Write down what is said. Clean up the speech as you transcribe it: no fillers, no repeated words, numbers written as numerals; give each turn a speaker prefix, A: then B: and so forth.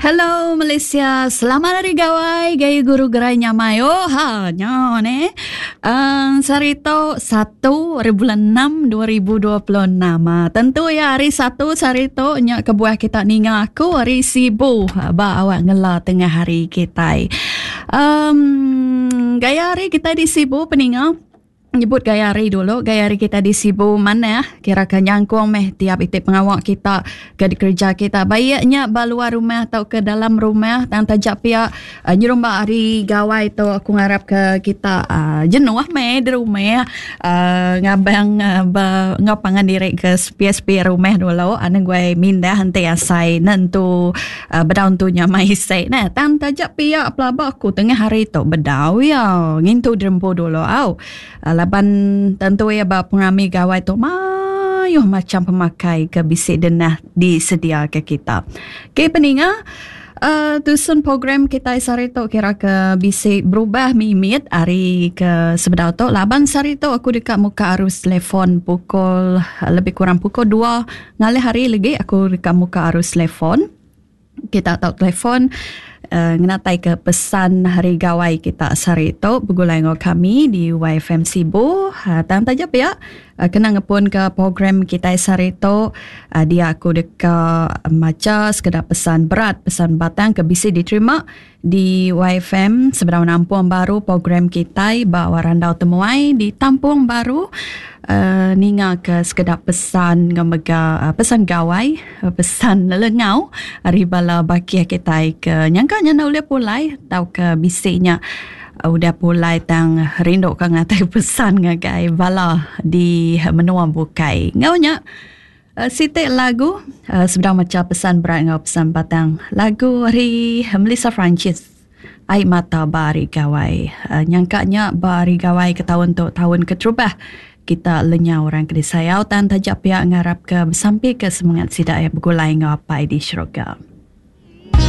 A: Hello Malaysia, selamat hari gawai, gayu guru gerai nyamai. Oh ha, nya ne. Um, sehari tu 1 hari bulan 6 2026. Ah, tentu ya hari satu sehari tu nya kebuah kita ninga aku hari Sibu ah, ba awak ngela tengah hari kitai. Um, gaya hari kita di Sibu peninga. Nyebut gaya hari dulu, gaya hari kita di Sibu manah, kira ke nyangkung meh tiap iti pengawa kita ke dikereja kita. Baik nya ba luar rumah tauka dalam rumah tang taja pia uh, nyerumba hari gawai tu aku ngarap ke kita uh, jenuh meh di rumah uh, ngabang uh, ba enggau pangan diri ke sepi-sepi rumah dulu anang guai mindah enti asai nentu uh, bedau entu nya mai isi neh. Tang taja pia pelaba aku tengah hari tu bedau iya ngintu dirempu dulu au. Uh, laban tentu iya ba pengerami gawai tu mayuh macam pemakai ke bisi denah disedia ke kita. Okey peninga, Uh, tusun program kita sehari tu kira ke bisi berubah mimit hari ke sebedau tu laban sehari tu aku deka muka arus telefon pukul lebih kurang pukul 2 Ngalih hari legi aku deka muka arus telefon. Kita tau telefon uh, ngenatai ke pesan hari gawai kita sehari tu begulai enggau kami di YFM Sibu. Uh, tang taja pia uh, kena ngepun ke program kita sehari tu uh, dia aku deka macha sekeda pesan berat, pesan batang ke bisi diterima di YFM sebedau nampung baru program kitai ba Randau Temuai ditampung baru uh, ninga ke sekeda pesan enggau mega uh, pesan gawai uh, pesan lelengau ari bala bakih kitai ke nyangka nya enda ulih pulai tauka bisi nya uh, udah pulai tang rindu ka ngatai pesan ngagai bala di menua bukai. Enggau nya Siti lagu sebedau macha pesan berat enggau pesan batang. Lagu ari Melissa Francis Ai Mata Ba Hari Gawai. Nyangka nya ba hari gawai ke taun tu taun keterubah kita lenyau orang ke disayau tang taja pia ngarapka besampika semengat sida iya begulai enggau Apai di syurga.